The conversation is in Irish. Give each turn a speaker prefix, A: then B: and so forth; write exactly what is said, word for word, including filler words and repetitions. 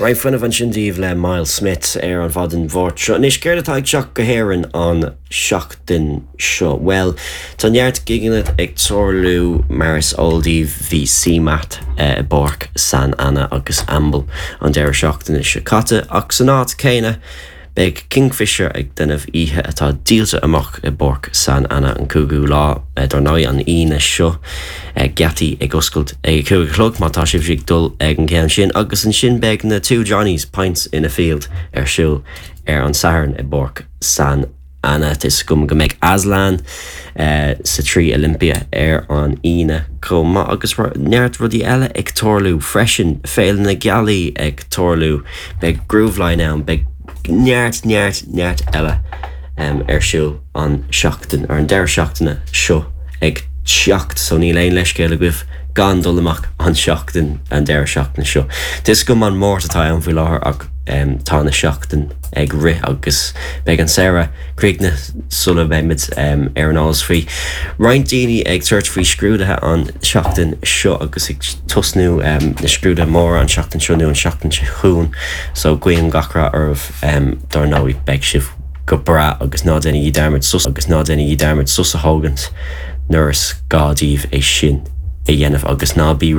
A: Roinnt fuinnimh ansin daoibh le Myles Smith ar an mhaidin Mháirt seo. Anois céard atá ag teacht go hÉirinn an seachtain seo. Well, tá neart gigeanna ag tarlú mar is eol daoibh bhí CMAT i bPáirc San Anna agus Amble an deireadh seachtaine seo caite ach san áit céanna Beidh Kingfisher ag déanamh oíche atá díolta amach i bPáirc San Anna an cúigiú lá dar ndóigh an Aoine seo geataí ag oscailt ag a cúig a chlog má tá sibh ag dul ag an gceann sin agus ansin beidh na Two Johnnies Pints in a Field ar siúl ar an Satharn i bPáirc San Anna is gom go mbeidh Aslan uh, sa trí Olympia ar an Aoine chomh maith agus neart rudaí eile ag tarlú freisin Féile na Gealaí ag tarlú beidh Grooveline ann beidh neart neart neart eile um, ar siúl an seachtain ar an deireadh seachtaine seo ag teacht so níl aon leithscéal agaibh gan dul amach an seachtain an deireadh seachtaine seo. Is cuma an Máirt atá ann faoi láthair ach um, tá na seachtain ag rith agus beidh an samhradh críochnaithe sula mbeimid um, ar an eolas faoi. Roinnt daoine ag tabhairt faoi scrúduithe an seachtain seo agus ag tosnú um, na scrúduithe móra an seachtain seo nó an seachtain seo chugainn, so guím gach rath oraibh um, dar ndóigh beidh sibh go breá agus ná déanaigí dearmad sos agus ná déanaigí dearmad sos a thógaint nuair is gá daoibh é sin a dhéanamh agus ná bí